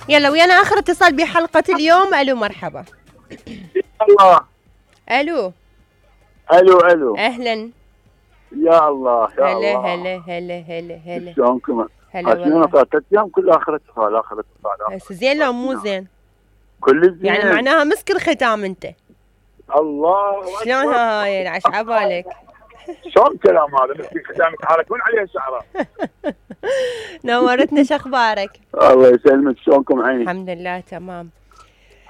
يلا ويانا اخر اتصال بحلقة اليوم. الو مرحبا. الله. الو الو اهلا. يا الله يا هلا الله. هلا هلا هلا هلا. شلونكم؟ هلا والله. ثلاث ايام كل اخر اتصال هسه زين لو مو زين؟ كل زين يعني معناها مسك الختام انت. الله شلون هاي عش عبالك؟ شلون كلام هذا؟ مسك الختام يتحركون عليها الشعراء. نورتنا. شخبارك؟ الله يسلمك. شلونكم عيني؟ الحمد لله تمام.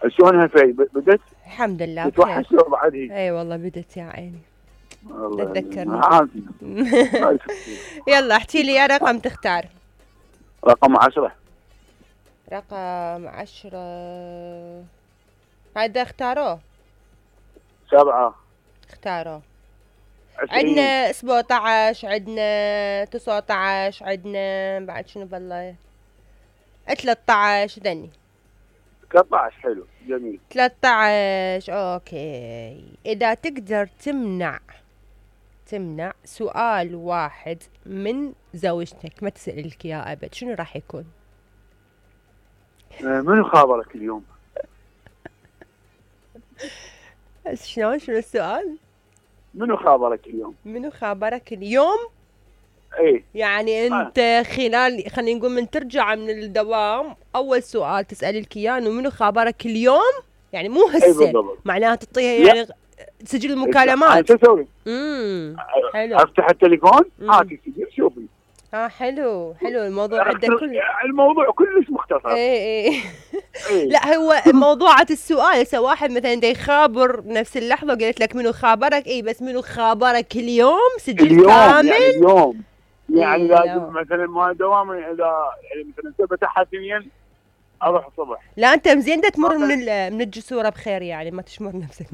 شلونها في بدت؟ الحمد لله بخير. تتوحش لو بعد هي؟ اي والله بدت يا عيني. الله تتذكرني. يلا احكي لي يا رقم تختار. رقم 10. رقم 10 هذا اختاروه. 7. اختاروه. 20. عندنا 17، عندنا 19، عندنا بعد شنو بالله 13 دني 13. حلو جميل. 13 اوكي. اذا تقدر تمنع سؤال واحد من زوجتك ما تسألك اياه ابد، شنو راح يكون؟ منو خابرك اليوم؟ شنو السؤال؟ منو خابرك اليوم؟ منو خابرك اليوم؟ ايه يعني انت خلال خلينا نقول من ترجع من الدوام اول سؤال تسألي لك اياه انه منو خابرك اليوم؟ يعني مو هسه. ايه معناها تعطيها يعني سجل المكالمات. شو اسوي؟ حلو. افتح التليفون هاتي سجل شوفي. حلو الموضوع عندك الموضوع كلش مختصر. ايه. لا هو موضوعة السؤال هسه واحد مثلا دا يخابر نفس اللحظة وقالت لك منو خابرك، اي بس منو خابرك اليوم سجل كامل. يعني اليوم يعني لازم مثلا ما دوامي اذا يعني مثلا فتحها ثنين اروح الصبح. لا انت مزين دا تمر من الجسوره بخير يعني ما تشمر نفسك.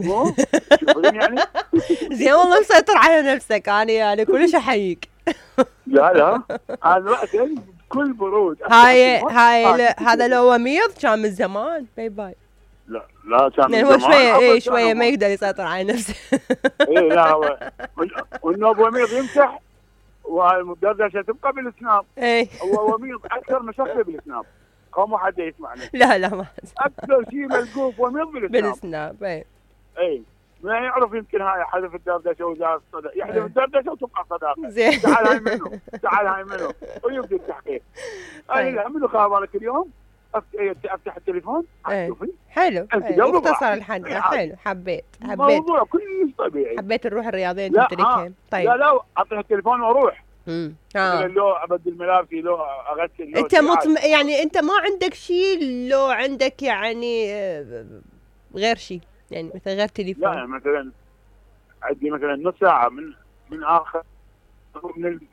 شوفين يعني زين والله مسيطر على نفسك. انا يعني كلش احييك. لا انا رأيت بكل برود. هاي هذا لو وميض كان من زمان باي. لا كان من هو زمان. شويه ما يقدر يسيطر على نفسه. ايه لا هو والنوب وميض يمسح والدردشه تبقى بالسناب. ايه هو وميض اكثر مشكله بالسناب. قوم حد يسمعني. لا ما اكثر شيء ملقوف وميض بالسناب. اي ما يعرف يمكن هاي حذف الدردشه وزاد الصدى، يحذف الدردشه وتبقى صداقه. زين تعال هاي منو ويبدا التحقيق. لا منو خابرك اليوم؟ افتح التليفون شوفي. حلو مختصر الحل. حلو حبيت موضوع كلش طبيعي. حبيت الروح الرياضيه انت تركها. طيب لا افتح التليفون واروح. لو ابدل ملابسي لو اغسل لو انت يعني انت ما عندك شيء لو عندك يعني غير شيء يعني مثلا غير تليفون؟ لا مثلا عندي مثلا نص ساعه من اخر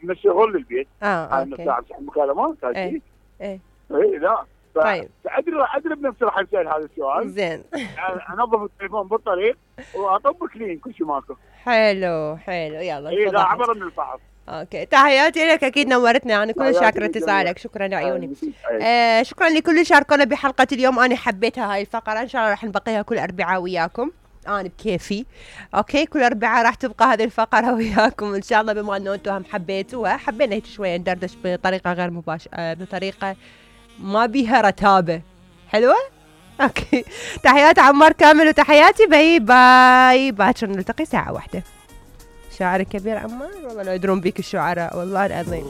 من الشغل للبيت. هاي نص ساعه بصح مكالمات. ايه لا طيب ادري بنفسي راح اسال هذا السؤال. زين. انظف التليفون بالطريق واطب كلين كل شيء ماكو. حلو يلا. لا عبر من الفحص. اوكي تحياتي لك. اكيد نورتنا. انا كل شاكره اتصالك. شكرا عيوني. شكرا لكل اللي شاركونا بحلقه اليوم. انا حبيتها هاي الفقره. ان شاء الله راح نبقيها كل اربعاء وياكم. انا بكيفي. اوكي كل اربعاء راح تبقى هذه الفقره وياكم ان شاء الله. بما انه انتم هم حبيتوها حبينا هيك شويه ندردش بطريقه غير مباشره بطريقه ما بيها رتابه. حلوه. اوكي تحياتي عمار كامل وتحياتي باي باكر نلتقي 1:00. شاعر كبير عمار والله لو يدرون بيك الشعراء والله العظيم.